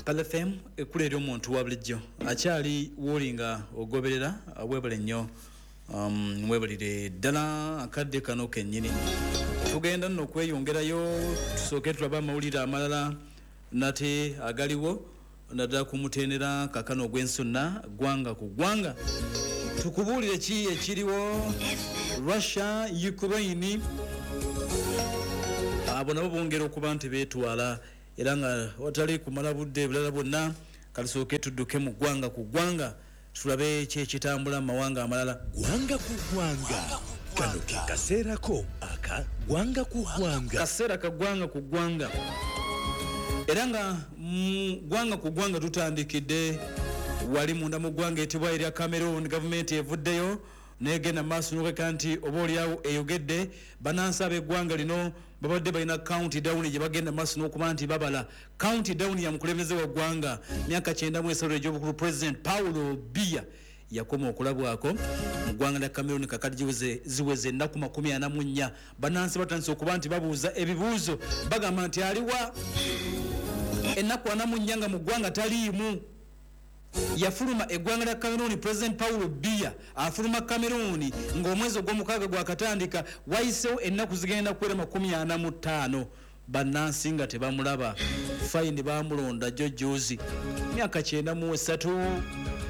Kale FM ekkula eri omuntu wa bulijjo akyali wooli nga ogoberera, weebale nnyo, weebalire ddala. Akadde kano kennyini tugenda nno okweyongerayo, tusooke tulabe amawulire amalala nate agaliwo naddala ku mutendera kakano ogw'ensonna ggwanga ku ggwanga. Tukubuulire ki ekiriwo? Russia, Ukraine, abo nabo bongera okuba nti beetwala, era nga watali kumala budde bulala bwonna, katusooke tudduke mu ggwanga ku ggwanga tulabe ki ekitambula mu mawanga amalala. Ggwanga ku ggwanga, kano ke kaseerako aka ggwanga ku ggwanga. Kaseera ka ggwanga ku ggwanga, era nga mu ggwanga ku ggwanga tutandikidde wali munda mu ggwanga etibwa erya Cameroon. Gavumenti evuddeyo negenda maaso nokeka nti oba oliawo eyogedde bannansi ab'eggwanga lino babadde balina count down gye bagenda maaso n'okuba nti babala. Count down ya mukulembeze wa ggwanga, myaka 93 egy'obukulu, President Paulo Biya yakoma okulabwako mu ggwanga lya Cameroon. Kakati ziweze ennaku 44, bannansi batandise okuba nti babuuza ebibuuzo, bagamba nti aliwa? Ennaku 44 nga mu ggwanga taliimu. Yafuluma eggwanga lya Cameroon, President Paulo Biya afuluma Cameroon ng'omwezi ogw'omukaaga gwakatandika. Wayisewo ennaku zigenda kuwera 45, bannansi nga tebamulaba. Fine, bamulonda jjo juzi, myaka 93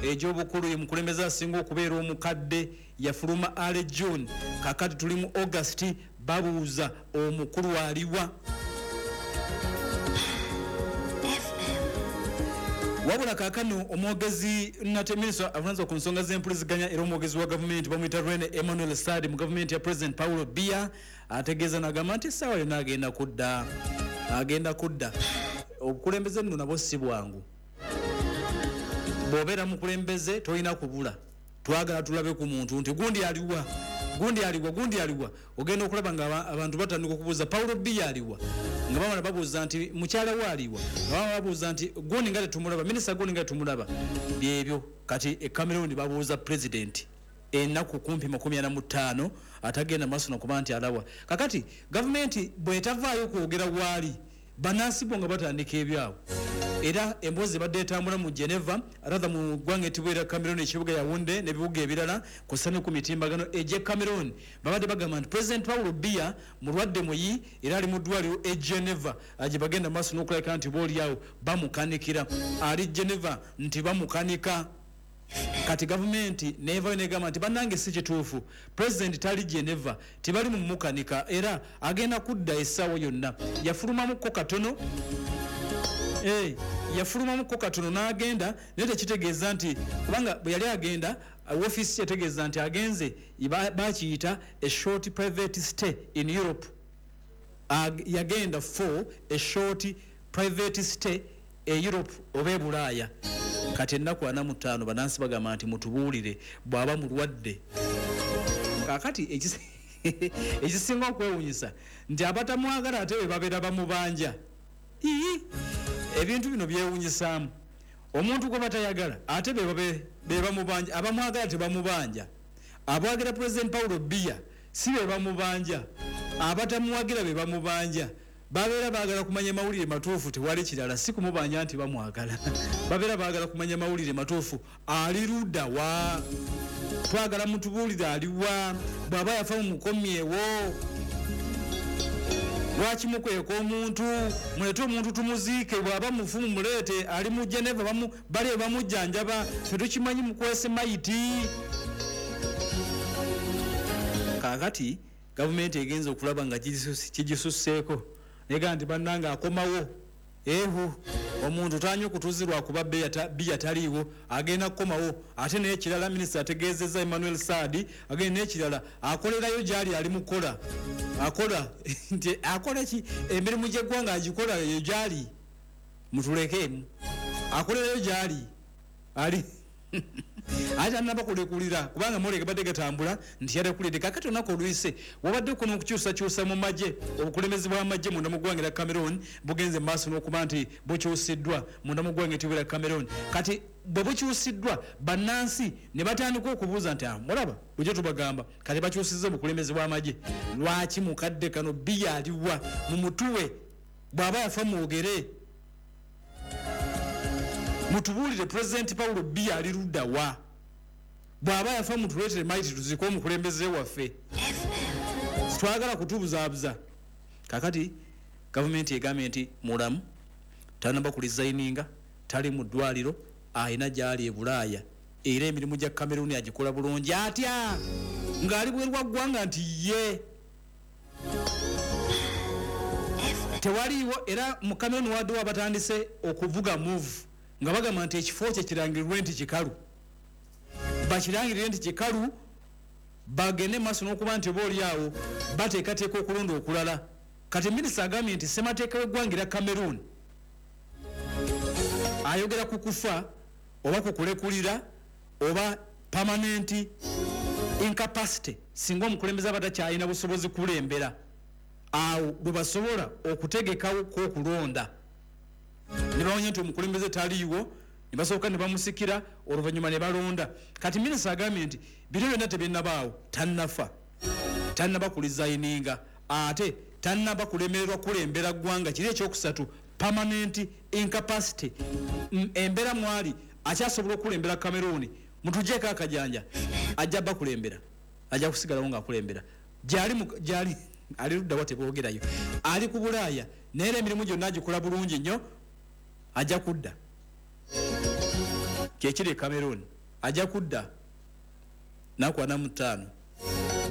egy'obukulu, ye mukulembeze asinga okubeera omukadde. Yafuluma early June, kakati tuli mu August, babuuza omukulu aliwa? Wabula kaakano omwogezi nate minisita avunanyizibwa ku nsonga z'empuliziganya era omwogezi wa gavumenti bamuyita Rene Emmanuel Sadi mu gavumenti ya President Paulo Biya ategeeza n'agamba nti essaawa yonna agenda kudda, agenda kudda. Obukulembeze nno nabwo si bwangu. Bw'obeera mukulembeze tolina kubula. Twagala tulabe ku muntu nti gundi aliwa, gundi aliwa, gundi aliwa. Ogenda okulaba nga abantu batandika okubuuza Paulo Biya aliwa, nga bamala babuuza nti mukyala we aliwa, nga bamala babuuza nti gundi nga tetumulaba, minisita gundi nga tetumulaba. Byebyo kati e Cameroon babuuza president ennaku kumpi 45 atagenda maaso nakuba nti alabwa. Kakati gavumenti bwetavaayo kwogera waali, bannansi bo nga batandika ebyabwe. Era emboozi ebadde etambula mu Geneva, rather mu ggwanga etibwa erya Cameroon, ekibuga Yaounde n'ebibuga ebirala kw'ossa ne ku mitimbagano egy'e Cameroon, babadde bagamba nti President Paulo Biya mulwadde muyi era ali mu ddwaliro e Geneva gye bagenda maaso n'okulabika nti booliawo bamukanikira. Ali Geneva nti bamukanika. Kati gavumenti nevayo negamba nti bannange si kituufu, President tali Geneva, tebali mu mukanika era agenda kudda essaawa yonna. Yafulumamukko katono, yafulumamukko katono n'agenda, naye tekitegeeza nti kubanga bwe yali agenda woofiisi yategeeza nti agenze, bakiyita a short private stay in Europe. Yagenda for a short private stay e Europe oba e Bulaaya. Kati ennaku 45, bannansi bagamba nti mutubuulire bw'aba mulwadde. Kaakati ekisinga okwewunyisa nti abatamwagala ate be babeera bamubanja. Ii, ebintu bino byewunyisaamu, omuntu gwe batayagala ate be bamubanja, abamwagala tebamubanja. Abwagira President Paulo Biya si be bamubanja, abatamuwagira be bamubanja. Babeera baagala kumanya mawulire matuufu, tewali kirala, si kumubanja nti bamwagala. Babeera baagala kumanya mawulire matuufu, ali ludda wa? Twagala mutubuulire aliwa, bw'aba yafa mumukomyewo. Lwaki mukweka omuntu? Mulete omuntu tumuziike, bw'aba mufu mumuleete, ali mu Geneva bali bamujjanjaba, ffe tukimanyi mukwese mayiti. Kaakati gavumenti egenza okulaba nga kigisusseeko, negamba nti bannange akomawo. Ehu, omuntu tanywa kutuzi lwakuba Biya taliiwo, agenda kukomawo. Ate n'ekirala minisita ategeezezza Emmanuel Sadi agenda n'ekirala akolerayo gy'ali, ali mukola, akola nti akola ki emirimu gy'eggwanga agikola eyo gy'ali, mutulekeemu, akolerayo gy'ali ali, ate tanaba kulekulira kubanga mawulire gabadde gatambula nti yalekulidde. Kakati olunaku oluyise wabadde kuno okukyusakyusa mu magye. Obukulembeze bw'amagye munda mu ggwanga erya Cameroon bugenze mu maaso n'okuba nti bukyusiddwa munda mu ggwanga etibwa erya Cameroon. Kati bwe bukyusiddwa, bannansi ne batandika okubuuza nti mulaba bujja tubagamba kati bakyusizza obukulembeze bw'amagye, lwaki mukadde kano Biya aliwa? Mumutuwe, bw'aba yafa mwogere. Mutubuulire President Paulo Biya ali ludda wa? Bw'aba yafa mutuleetere maiti tuzike omukulembeze waffe. Twagala kutubuzaabuza. Kakati gavumenti egambye nti mulamu, tanaba kulizayininga, tali mu ddwaliro, alina gy'ali e Bulaaya, era emirimu gya Cameroon agikola bulungi. Atya ng'ali bweru wa ggwanga nti ye tewaliiwo. Era mu Cameroon waddewo abatandise okuvuga move nga bagamba nti ekifo kye kirangirirwe nti kikalu, bakirangirire nti kikalu, bagende maaso n'okuba nti oba oli awo bateekateeka okulonda okulala. Kati minisita agambye nti ssemateeka w'eggwanga erya Cameroon ayogera ku kufa oba ku kulekulira oba permanent incapacity, singa omukulembeze aba takyalina busobozi kulembera, awo bwe basobola okutegekawo kw'okulonda ne bamanya nti omukulembeze taliiwo, ne basooka ne bamusikira, oluvannyuma ne balonda. Kati minisita agambye nti bino byonna tebinnabaawo, tannafa, tannaba kulizayininga, ate tannaba kulemererwa kulembera ggwanga. Kiri ekyokusatu, permanent incapacity, embeera mwali akyasobola okukulembera Cameroon. Mutugyeko akajanja, ajja bakulembera, ajja kusigalawo ng'akulembera. Gyali ali luddawa teboogerayo, ali ku Bulaaya, naye era emirimu gyonna agikola bulungi nnyo, ajja kudda. Kyekiri e Cameroon, ajja kudda naku 45.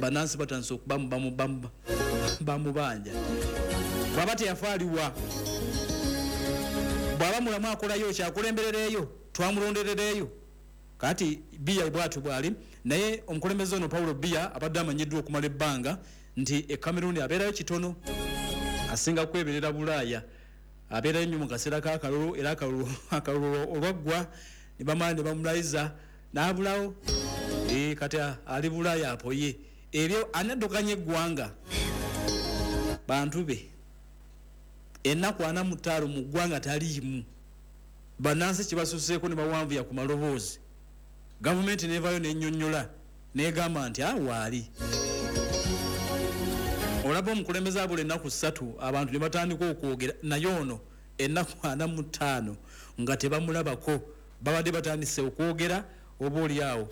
Bannansi batandise okubamu bamubanja. Bw'aba teyafa aliwa? Bw'aba mulamu akolayo kyakulemberereeyo, twamulonderereeyo. Kati Biya bwatyo bwali. Naye omukulembeze ono Paulo Biya abadde amanyiddwa okumala ebbanga nti e Cameroon abeerayo kitono, asinga kweberera Bulaaya, abeerayo nnyo mu kaseera k'akalulu, era akalulu olwaggwa ne bamala ne bamulayiza n'abulawo. Kati ali Bulaaya apoye ebyo anaddukanya eggwanga bantu be. Ennaku 45 mu ggwanga taliimu, bannansi kibasuseeko ne bawanvuya ku maloboozi. Gavumenti nevayo nennyonnyola negamba nti awaali olaba omukulembeze abula ennaku 3 abantu ne batandika okwogera, naye ono ennaku 45 nga tebamulabako, babadde batandise okwogera oba oli awo.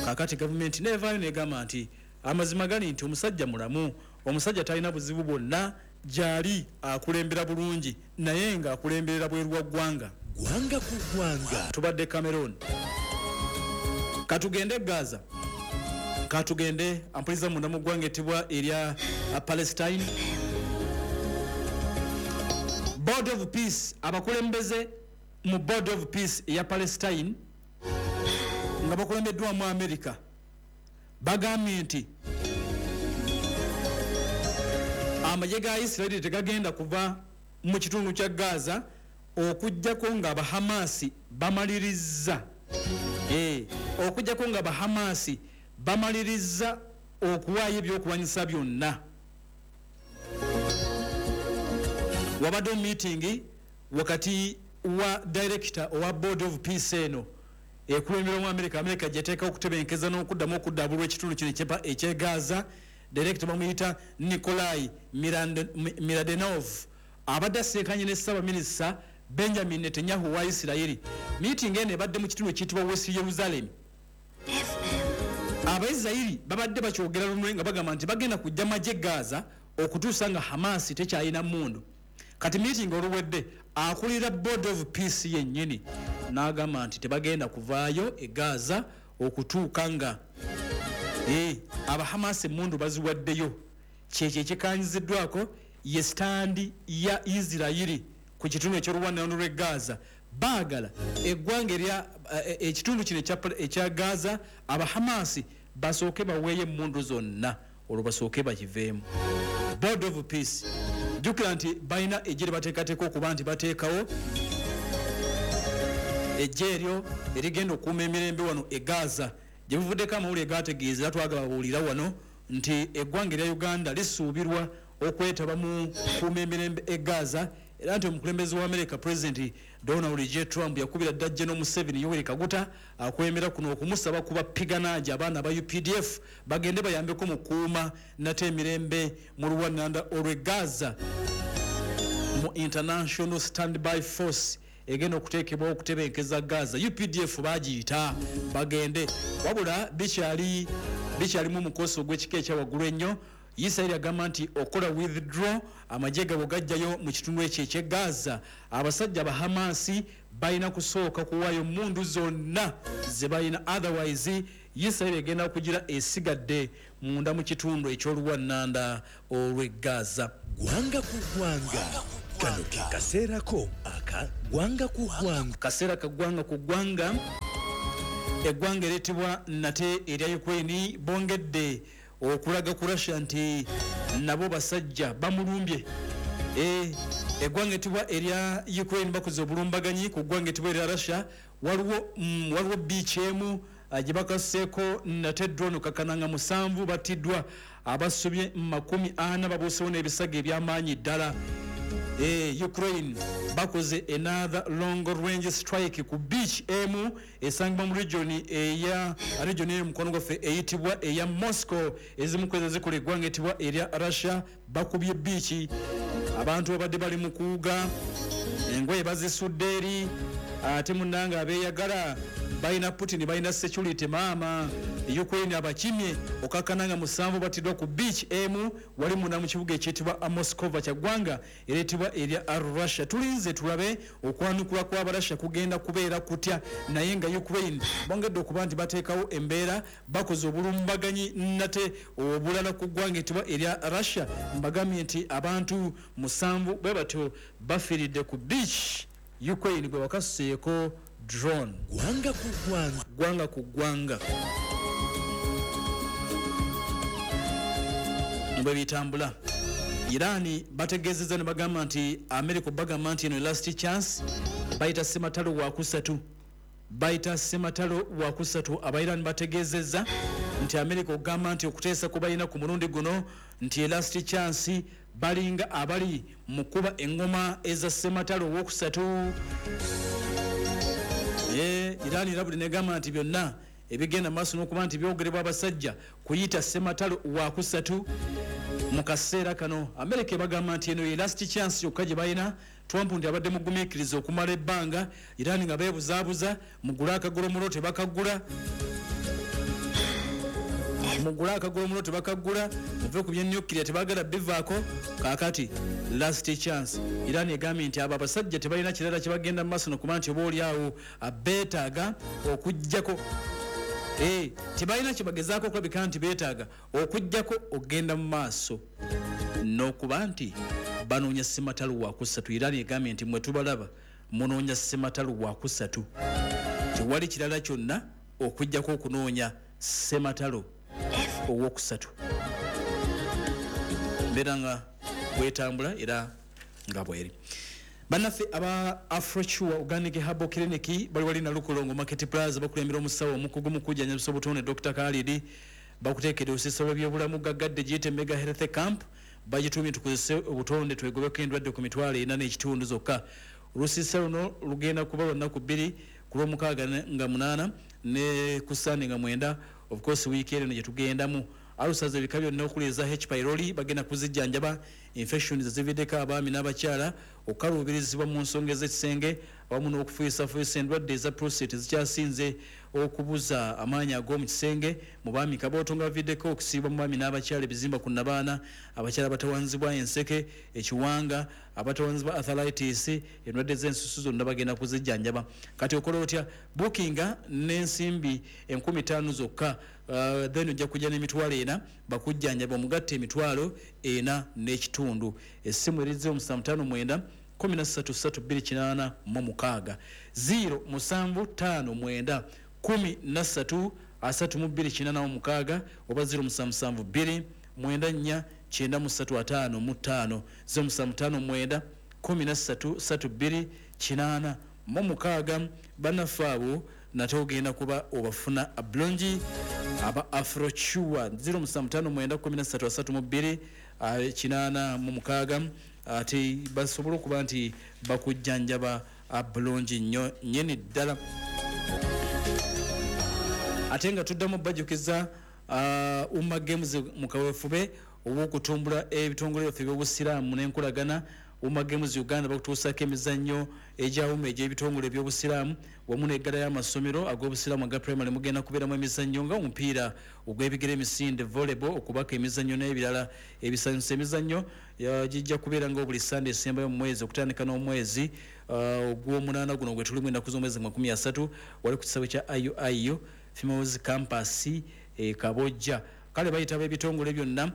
Kakati gavumenti nevayo negamba nti amazima gali nti omusajja mulamu, omusajja talina buzibu bwonna, gyali akulembera bulungi, naye nga akulemberera bweru wa ggwanga. Ggwanga ku ggwanga. Tubadde Cameroon, katugende Gaza, katugende ampuliza munda mu ggwanga ettibwa erya Palestine. Board of Peace, abakulembeze mu Board of Peace eya Palestine nga bakulembeddwamu America bagambye nti amagye ga Israeli tegagenda kuva mu kitundu kya Gaza okuggyako nga Abahamasi bamalirizza okuggyako nga Abahamasi bamalirizza okuwaayo ebyokulwanyisa byonna. Wabaddewo meeting wakati wa director owa Board of Peace eno ekulemberwa mu America, America gyeteeka okutebenkeza n'okuddamu okuddaabulwa ekitundu kino eky'e Gaza. Director bamuyita Nikolai Mladenov, abadde aseekanye ne Ssaabaminisita Benjamin Netanyahu wa Isirayiri. Meeting eno ebadde mu kitundu ekiyitibwa West Jerusalem. Abaisirayiri babadde bakyogera lunwe nga bagamba nti bagenda kujja magye Gaza okutuusa nga Hamas tekyalina mmundu. Kati meeting oluwedde, akulira Board of Peace yennyini n'agamba nti tebagenda kuvaayo e Gaza okutuuka nga Abahamas emmundu baziwaddeyo. Kyekyo ekikanyiziddwako ye stand ya Isirayiri ku kitundu eky'oluwanano lw'e Gaza. Baagala eggwanga erya ekitundu kino ekya Gaza Abahamasi basooke baweeyo emmundu zonna, olwo basooke bakiveemu. Board of Peace, jjukira nti balina eggye lye bateekateeka okuba nti bateekawo eggye eryo erigenda okukuuma emirembe wano e Gaza. Gye buvuddeko amawulire gategeeza, era twagababuulira wano nti eggwanga erya Uganda lisuubirwa okwetaba mu kukuuma emirembe e Gaza, era nti omukulembeze wa America President Donald J Trump yakubira dda General Museveni Yoweri Kaguta akulembera kuno okumusaba kuba piganaaji abaana aba UPDF bagende bayambeko mu kukuuma nate emirembe mu luwananda olw'e Gaza mu International Standby Force. egenda okuteekebwawo okutebenkeza Gaza. UPDF bagiyita bagende, wabula bikyalimu omukosi ogw'ekika ekya waggulu ennyo. Isiraeri agamba nti okola withdraw amagye gaabwe gajjayo mu kitundu ekyo eky'e Gaza, abasajja ba Hamasi balina kusooka kuwaayo mundu zonna ze balina, otherwise Isiraeri egenda kugira esigadde munda mu kitundu eky'oluwannanda olw'e Gaza. Ggwanga ku ggwanga, kano ke kaseerako aka ggwanga ku ggwanga. Kaseera ka ggwanga ku ggwanga. Eggwanga ereetebwa nate erya Ukraine bongedde okulaga ku Russia nti nabo basajja bamulumbye. Eggwanga etibwa erya Ukraine bakoze obulumbaganyi ku ggwanga etibwa erya Russia. Waliwo beach emu gye bakaseeko nate drone kakananga 7 batiddwa, abasobye 40 babuusewo n'ebisago eby'amaanyi ddala. Ukraine bakoze another long range strike ku beach emu esangibwa mu region eya region eri mukono gwaffe eyitibwa eya Moscow. Ezimu ku ezo zikola eggwanga etibwa erya Russia. Bakubye beach, abantu babadde bali mu kuwuga, engoye bazisudde eri, ate munnange abeeyagala balina Putin, balina security maama. Ukraine abakimye okakkana nga 7 batiddwa ku beach emu wali munda mu kibuga ekiyitibwa Moscova kya ggwanga ereetebwa erya Russia. Tulinze tulabe okwanukula kw'Abarussia kugenda kubeera kutya, naye nga Ukraine bongedde okuba nti bateekawo embeera, bakoze obulumbaganyi nate obulala ku ggwanga etibwa erya Russia. Mbagambye nti abantu 7 bwe batyo bafiiridde ku beach Ukraine bwe bakasuseeko drone. Ggwanga ku ggwanga. Ggwanga ku ggwanga bwe bitambula. Irani bategeezezza ne bagamba nti America bagamba nti eno last chance, bayita ssematalo wakusatu, bayita ssematalo wakusatu. Abairani bategeezezza nti America okugamba nti okuteesa ku balina ku mulundi guno nti last chance, balinga abali mu kuba engoma eza ssematalo owokusatu. Irani erabudde negamba nti byonna ebigenda maaso n'okuba nti byogerebwa abasajja kuyita ssematalo wakusatu mu kaseera kano. America ebagamba nti eno ye last chance yokka gye balina. Trump nti abadde mugumiikiriza okumala ebbanga, Irani nga beebuzaabuza, mugule akagolomulo tebakagula, mugule akagolomulo tebakagula, muve ku byenyukiriya tebaagala bivaako. Kaakati last chance, Irani egambye nti abo abasajja tebalina kirala kye bagenda mu maaso nokuba nti oba oli awo beetaaga okuggyako, tebalina kye bagezaako okulabika nti beetaaga okuggyako okugenda mu maaso n'okuba nti banoonya ssematalo wakusatu. Irani egambye nti mwe tubalaba munoonya ssematalo wakusatu, tewali kirala kyonna okuggyako okunoonya ssematalo owokusatu. Mbeera nga bwetambula era nga bweri. Bannaffe aba Afrocure Organic Herbal Clinic bali wali Nalukolongo Market Plaza, bakulembera omusawo omukugu mu kujjanjabisa obutonde Dr. Khalid. Bakuteekedde olusiisira lw'ebyobulamu gaggadde giyite Mega Health Camp, bagituumye tukozese obutonde twegobeko endwadde ku 45 n'ekitundu zokka. Olusiisira luno lugenda kuba lwa nnaku 2, ku lwomukaaga nga 8 ne ku Ssande nga 9, of course wiiki eno gye tugendamu. Alusaza ebika byonna okuli eza H pylori bagenda kuzijjanjaba, infections ezividdeko abaami n'abakyala, okukaluubirizibwa mu nsonga ez'ekisenge awamu n'okufuyisafuuyisa endwadde eza prostate ezikyasinze okubuza amaanyi ag'omu kisenge mu baami, kabooto nga baviddeko okusiibwa mu baami n'abakyala, ebizimba ku nnabaana, abakyala abatawanzibwa enseke, ekiwanga, abatawanzibwa arthritis, endwadde z'ensusu zonna bagenda kuzijjanjaba. Kati okola otya? Bookinga n'ensimbi 5000 zokka, then ojja kujja n'400,000 bakujjanjaba, omugatte 4500 n'ekitundu. Essimu eri 0759 13 32 86, 0759 13 32 86 oba 0772 94 9355, 0759 13 32 86. Bannaffe abo nate ogenda kuba obafuna bulungi aba Afrocure 0759 13 32 86, ate basobola okuba nti bakujjanjaba bulungi nnyo nnyini ddala. Ate nga tuddamu bajjukiza Umma Games mu kaweefube ow'okutumbula ebitongole byaffe eby'obusiraamu n'enkolagana. Uma Games Uganda bakutuusaako emizannyo egyawuma egy'ebitongole eby'obusiraamu wamu n'eggala y'amasomero ag'obusiraamu aga primary. Mugenda kubeeramu emizannyo nga omupiira ogw'ebigere, emisinde, volleyball, okubaka emizannyo n'ebirala ebisanyusa. Emizannyo gijja kubeera nga buli Sande esembayo mu mwezi okutandika n'omwezi ogw'omunaana guno gwe tulimu, ennaku z'omwezi 30, wali ku kisaawe kya IUIU Females Campus e Kabojja. Kale bayitaba ebitongole byonna,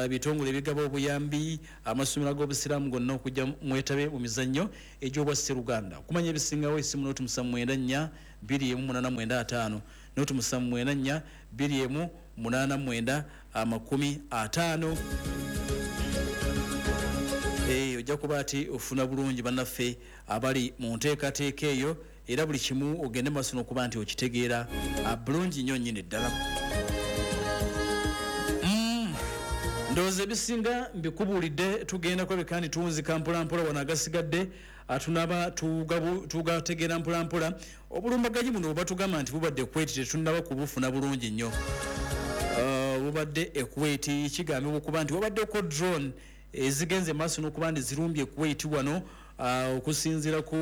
ebitongole ebigaba obuyambi, amasomero ag'obusiraamu gonna okujja mwetabe mu mizannyo egy'obwasseruganda. Okumanya ebisingawo, esimu 079 4 21 95, 079 4 1 89 50. Ojja kuba ati ofuna bulungi bannaffe abali mu nteekateeka eyo, era buli kimu ogende maaso n'okuba nti okitegeera bulungi nnyo nnyini ddala. Ndowooza ebisinga mbikubuulidde. Tugenda kulabika nti tuwunzika mpolampola wano, agasigadde tunaba tugategeera mpolampola. Obulumbaganyi buno bwe batugamba nti bubadde Kuwait, tetunnaba kubufuna bulungi nnyo. Bubadde e Kuwait, kigambibwa okuba nti wabaddeko drone ezigenze maaso n'okuba nti zirumbye Kuwait wano. Okusinziira ku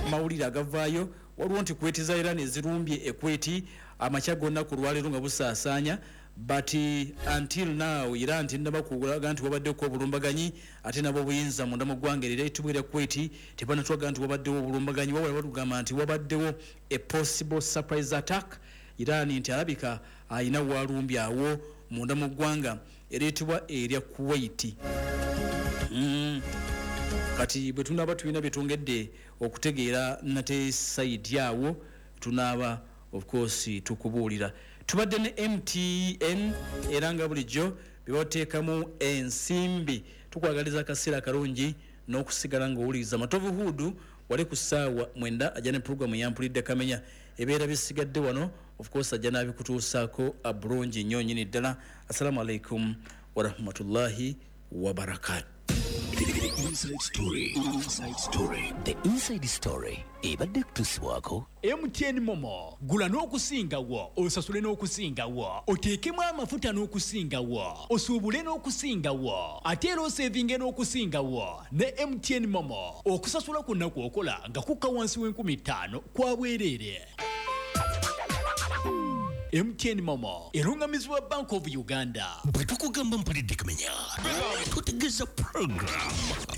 mawulire agavaayo, waliwo nti Kuwait za Iran ezirumbye e Kuwait amakya gonna ku lwaleero nga busaasaanya, but until now Iran tennaba kulaga nti wabaddeko obulumbaganyi, ate nabo obuyinza munda mu ggwanga erira etubwera Kuwait tebanatwaga nti wabaddewo obulumbaganyi, wabula batugamba nti wabaddewo a possible surprise attack. Iran nti alabika ayina walumbye awo munda mu ggwanga ereetebwa erya Kuwait. Kati bwe tunaaba tulina byetwongedde okutegeera nate side awo, tunaaba of course tukubuulira. Tubadde ne MTN, era nga bulijjo byebateekamu ensimbi. Tukwagaliza akaseera akalungi n'okusigala ng'owuliriza Matovu Hudu wali ku ssaawa 9, ajja ne puroguramu yampulidde kamenya ebeera bisigadde wano. Of course ajja n'abikutuusaako bulungi nnyo nnyini ddala. Assalamu alaikum warahmatullahi wabarakatu. The Inside Story. Inside Story. The Inside Story ebadde kutuusibwako MTN MoMo. Gula n'okusingawo, osasule n'okusingawo, oteekemu amafuta n'okusingawo, osuubule n'okusingawo, ate era osevinge n'okusingawo ne MTN MoMo. Okusasula kwonna kw'okola nga kukka wansi w'5,000 kwa bwereere. MTN MoMo erungamizibwa Bank of Uganda. Bwe tukugamba mpulidde kamenya, tutegeeza program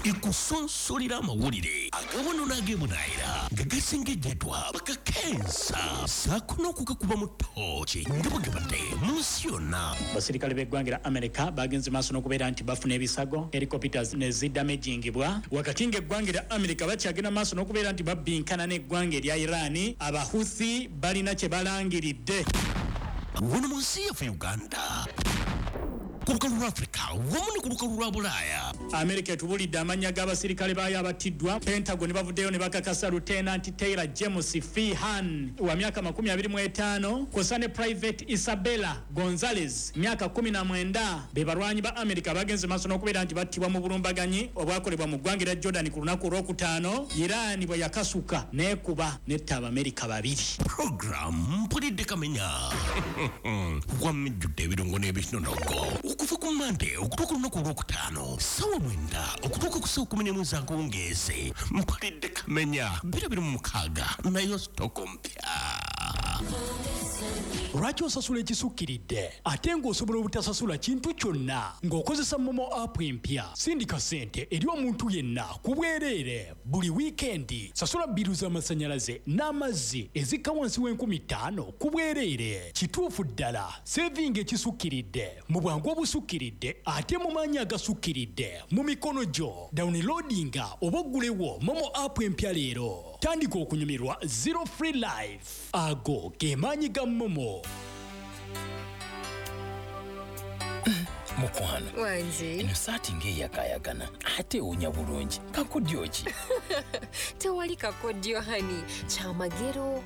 ekusonsolera amawulire agawono n'ag'ebunaayira nga gasengejjeddwa bakakensa saako n'okugakuba mu ttooki nga bwe gabadde mu nsi yonna. Abasirikale b'eggwanga lya America bagenze maaso n'okubeera nti bafuna ebisago, helicopters ne zidamagingibwa, wakati ng'eggwanga lya America bakyagenda maaso n'okubeera nti babbinkana n'eggwanga erya Iran. Abahuthi balina kye balangiridde. Wano mu nsi yaffe Uganda, ku lukalu lwa Afrika wamu ne ku lukalu lwa Bulaaya. America etubulidde amannya g'abasirikale baayo abattiddwa. Pentagon bavuddeyo ne bakakasa Lieutenant Taylor James Feehan wa myaka 25, kw'ossa ne Private Isabella Gonzales, myaka 19, be balwanyi ba America bagenze maaso n'okubeera nti battibwa mu bulumbaganyi obwakolebwa mu ggwanga erya Jordan ku lunaku olwokutaano, Iran bwe yakasuka n'ekuba netta Abamerika babiri. Program mpulidde kamenya wamijjudde ebirungo n'ebinonogo okuva ku Mande okutuuka olunaku olwokutaano sawa 9 okutuuka ku sawa 11 ez'akawungeezi. Mpulidde kamenya 226, nayo sitoko mpya. Lwaki osasula ekisukkiridde ate ng'osobola obutasasula kintu kyonna ng'okozesa MoMo app empya? Sindika ssente eri omuntu yenna ku bwereere buli wiikendi. Sasula bill z'amasannyalaze n'amazzi ezikka wansi w'5,000 ku bwereere. Kituufu ddala, sevinga ekisukkiridde mu bwangu obusukkiridde ate mu maanyi agasukkiridde mu mikono gyo. Downloadinga oba oggulewo MoMo app empya leero. Tandika okunyumirwa zero free life. Ago ge maanyi ga MoMo. Mukwano. Wangi. Eno saati ng'eyakaayakana ate ewunya bulungi, kakodyo ki? Tewali kakodyo, honey, kyamagero.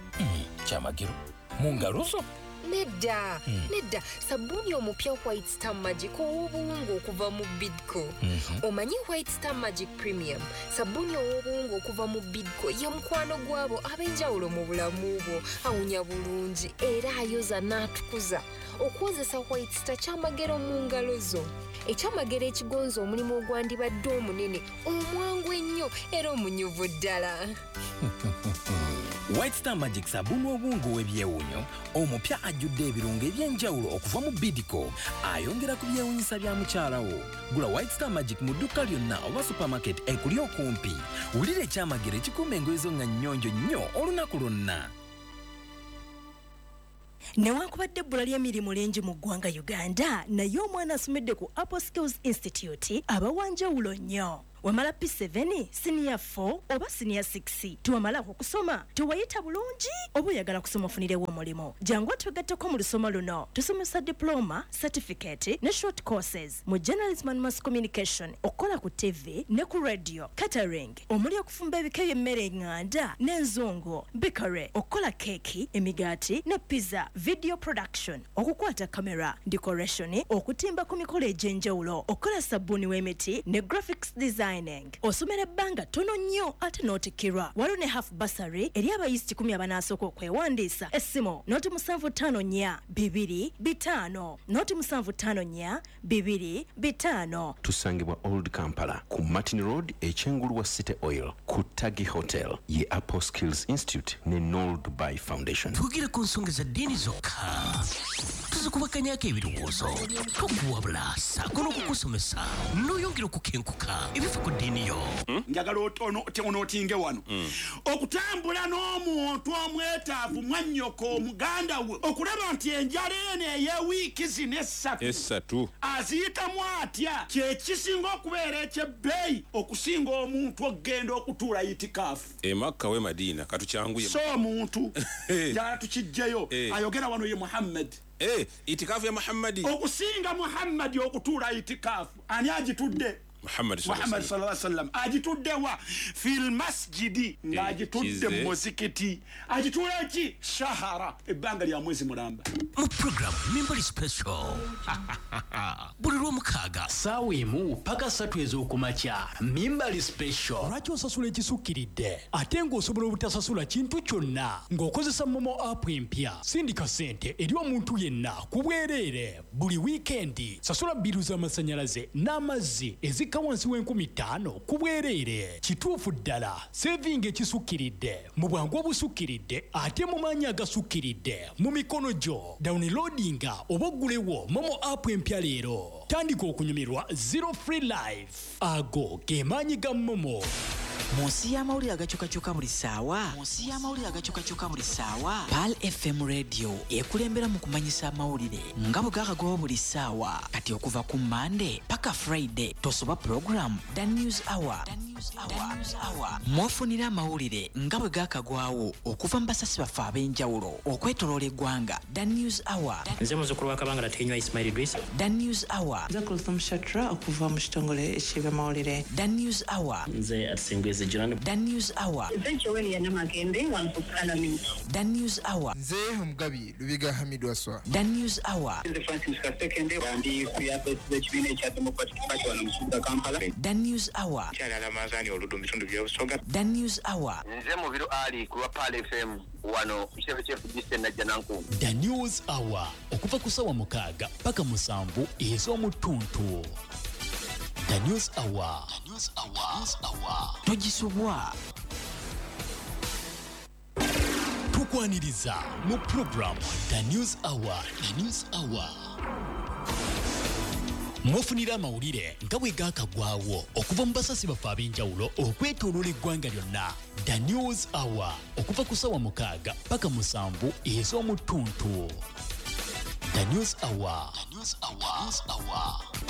Kyamagero mu ngalo zo. Nedda, nedda. Sabbuuni omupya White Star Magic ow'obuwunga okuva mu Bidco. Omanyi White Star Magic Premium, sabbuuni ow'obuwunga okuva mu Bidco, ye mukwano gwabo ab'enjawulo mu bulamu bwo. Awunya bulungi era ayoza n'atukuza. Okwozesa White Star kyamagero mu ngalo zo, ekyamagero ekigonza omulimu ogwandibadde omunene, omwangu ennyo era omunyuvu ddala. White Star Magic, sabbuuni obuwunga ow'ebyewuunyo omupya ajjudde ebirungo eby'enjawulo okuva mu Bidco, ayongera ku byewuunyisa bya mukyala wo. Gula White Star Magic mu dduuka lyonna oba supermarket ekuli okumpi. Wulira ekyamagero ekikuuma engoye zo nga nnyonjo nnyo olunaku lwonna. Newankubadde ebbula ly'emirimu lingi mu ggwanga Uganda, naye omwana asomedde ku Apple Skills Institute aba wanjawulo nnyo. Wamala P7, siniya 4 oba siniya 6, tewamalako kusoma, tewayita bulungi, oba oyagala kusoma ofunirewo omulimu, jangu otwegatteko mu lusoma luno. Tusomesa diploma, certificate ne short courses mu journalism and mass communication, okukola ku TV ne ku radio, catering omuli okufumba ebika by'emmere eŋŋanda n'enzungu, bakery, okukola keeki, emigaati ne pizza, video production, okukwata kamera, decoration, okutimba ku mikolo egy'enjawulo, okukola sabbuuni w'emiti ne graphics designing. Osomera ebbanga ttono nnyo ate n'otikkirwa. Waliwo ne half bursary eri abayizi 100 abanaasooka okwewandiisa. Essimu 0754 2 5 0754 2 5. Tusangibwa Old Kampala ku Martin Road, ekyengulu wa City Oil, ku Tagi Hotel. Ye Apple Skills Institute ne Nol Dubai Foundation. Twogere ku nsonga za ddiini zokka, tuzikubakanyako ebirowoozo, tukuwabula ssaako n'okukusomesa n'oyongera okukenkuka ebifa ku ddiini yo. Njagala onootinge wano okutambula n'omuntu omwetaavu, mwannyoko, omuganda we, okulaba nti enjala eno ey'ewiiki zino 3 3 aziyitamu atya, kyekisinga okubeera ekyebbeeyi okusinga omuntu okugenda okutuula itikaafu Emakka we Madiina. Katukyanguye. So omuntu njagala tukijjeyo. Ayogera wano ye Muhammad. Itikaafu ya Muhammadi. Okusinga Muhammadi okutuula itikaafu, ani agitudde? Muhammad. Muhammad sallallahu alaihi wasallam agitudde wa fil masjidi, ng'agitudde Kize. mu muzikiti. Agituula ki? Shahara, ebbanga lya mwezi mulamba. Mu program Mimbali Special buli Lwomukaaga saawa 1 paka 3 ez'okumakya, Mimbali Special. Lwaki osasula ekisukkiridde ate ng'osobola obutasasula kintu kyonna ng'okozesa MoMo app empya? Sindika ssente eri omuntu yenna ku bwereere buli wiikendi. Sasula bbiiru z'amasannyalaze n'amazzi ezikka wansi w'5,000 ku bwereere. Kituufu ddala, sevinga ekisukkiridde mu bwangu obusukkiridde ate mu maanyi agasukkiridde mu mikono gyo. Downloadinga oba oggulewo MoMo app empya leero. Tandika okunyumirwa zero free life. Ago ge maanyi ga MoMo. Mu nsi y'amawulire agakyukakyuka buli ssaawa, mu nsi y'amawulire agakyukakyuka buli ssaawa, Pearl FM Radio ekulembera mu kumanyisa amawulire nga bwe gakagwawo buli ssaawa. Kati okuva ku Mande paka Friday, tosoba program The News Hour. Mwofunira amawulire nga bwe gakagwawo okuva mu basasi baffe ab'enjawulo okwetoloola eggwanga. The News Hour. Nze muzzukulu wa Kabangala Tenywa, Ismail Idris. The News Hour. Nze Kulthum Shatra okuva mu kitongole eky'ebyamawulire. The News Hour. Nze Atsingwezi Jonan. The News Hour. Nze Joel Namagembe wano ku Parliament. The News Hour. Nze Omugabi Lubiga Hamid Waswa. The News Hour. Nze Francis Kasekende, ndi ku yafesi z'ekibiina ekya Democratic Party wano mu kibuga Kampala. The News Hour. Kyalala Manzani Oluddu mu bitundu by'Obusoga. The News Hour. Nze Mubiru Ali ku lwa Pearl FM wano ku kitebe ky'FDC Najjanankumbi. The News Hour okuva ku ssaawa 6 paka 7 ez'omuttuntu. The News Hour. The News Hour. News Hour. Togisubwa. Tukwaniriza mu program The News Hour. The News Hour mwofunira amawulire nga bwe gaakagwawo okuva mu basasi baffe ab'enjawulo okwetooloola eggwanga lyonna. The News Hour okuva ku ssaawa 6 paka 7 ez'omuttuntu. The News Hour. The News Hour. News Hour.